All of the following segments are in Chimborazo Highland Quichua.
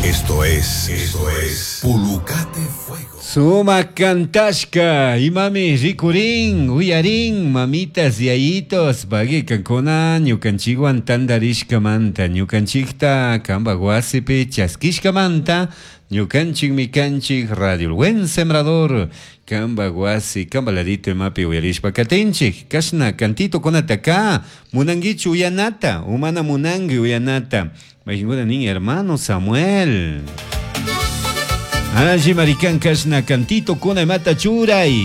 Esto es, esto es Pulucate Fuego. Suma cantashka, imami rikurin, uyarin, mamitas, yayitos, pagui kankuna, ñukanchikwan tantarishkamanta, ñukanchikta kanpak wasipi chaskishkamanta, ñukanchikmi kanchik Radio El Buen Sembrador, kanpak wasi, kanpak ladito imapi uyarishpa katinchik, kashna cantitokunataka, munankichu uyanata, o mana munanki uyanata, mayqinkuna nin hermano Samuel. Alli marikan kashna cantito kuna imata churay.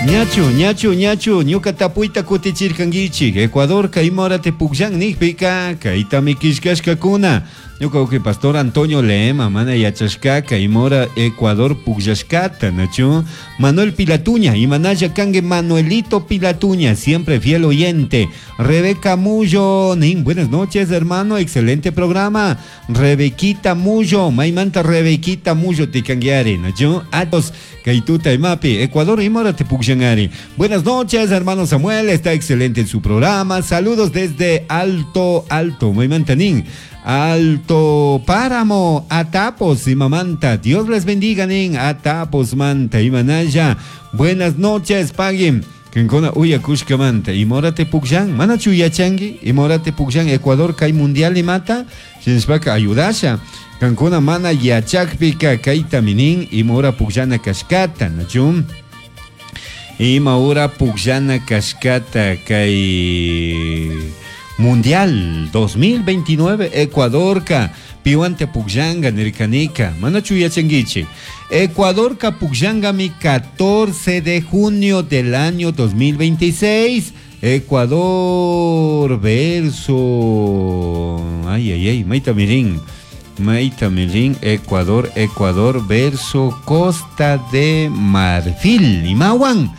Ñachu, ñachu, ñachu, ñuka tapuyta kutichirkankichik. Ecuador kay morate pukllan nikpika, kaytami killkashkakuna. Ñuka uki pastor Antonio Lema, mana yachashkaka, imora Ecuador pukllashkata, nachu. Manuel Pilatuña, imanalla kangue Manuelito Pilatuña, siempre fiel oyente. Rebeca Mullo, nin, buenas noches, hermano, excelente programa. Rebequita Mullo, maymanta Rebequita Mullo tikanguiari, nachu. Atos, Kaituta imapi, Ecuador imora te pukllanari. Buenas noches, hermano Samuel, está excelente en su programa. Saludos desde Alto, Alto, maymanta nin. Alto Páramo, Atapos y Mamanta. Dios les bendiga, nin. Atapos, Manta y Manaya. Buenas noches, paguen. Kinkuna uyakushkamanta. Imorate pukllan, manachu yachanki, imorate pukllan Ecuador kay mundial imata, shinashpaka ayudasha. Kankuna mana yachakpika kaytami nin, imora pukllana kashkata, nachu? Ima hora pukllana kashkata kay Mundial 2029 Ecuadorka piwante pukllanga nirkanika, manachu yachankichik. Ecuadorka pukllangami 14 de junio del año 2026. Ecuador verso, ay, ay, ay, maita mirin, maita mirin, Ecuador, Ecuador verso Costa de Marfil, imawan.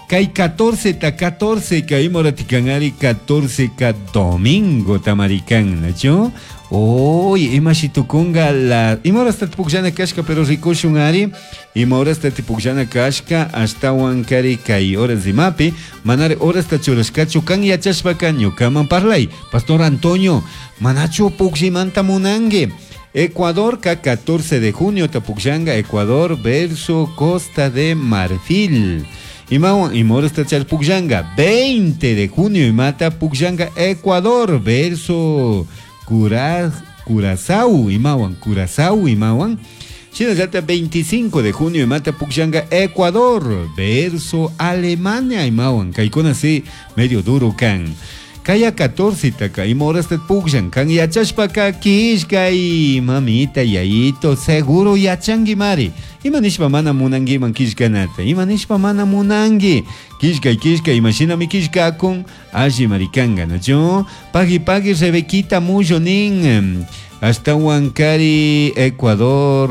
Kay 14 ta 14 kay moratikanari 14 ka domingo tamarikan, nachu? Oy, imashitukunga la imora hasta pukllana kashka pero rikushun ari, imora hasta pukllana kashka ashtawan kari kay horas imapi, manari horas ta churashkachu kan yachashpaka ñukaman parlay. Pastor Antonio, manachu pukllimanta munanki. Ecuador ka 14 de junio tapukllanga Ecuador verso Costa de Marfil. Imawan imora hasta pukllanga 20 de junio imata pukllanga Ecuador verso Curazao, imawan, Curazao, imawan. Shinallata 25 de junio imata pukllanga Ecuador verso Alemania, imawan. Kaykuna si medio duro kan. Kaya 14 taka imora hasta pukllan kan yachashpaka killkay mamita yayito seguro yachanki mari. Ima nishpa mana munankiman killkanata, ima nishpa mana munanki. Killkay killkay imashinami killkakun alli marikanga, nachu? Pagui pagui Rebequita Mullo nin. Hasta Huancari, Ecuador,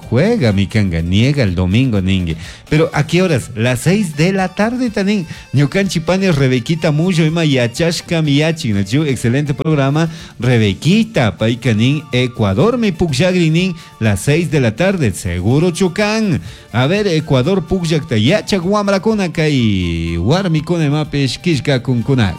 juega mi kanga, niega el domingo ningue. Pero ¿a qué horas? Las 6 de la tarde también. Ñukanchi pane Rebequita Mullo ima yachashka miyachi, nachu? Excelente programa. Rebequita, paikanin, Ecuador mi pukllagri nin, las 6 de la tarde, seguro chukan. A ver, Ecuador pukllakta yachak wamrakuna kay warmikuna imapish killka kunkunak.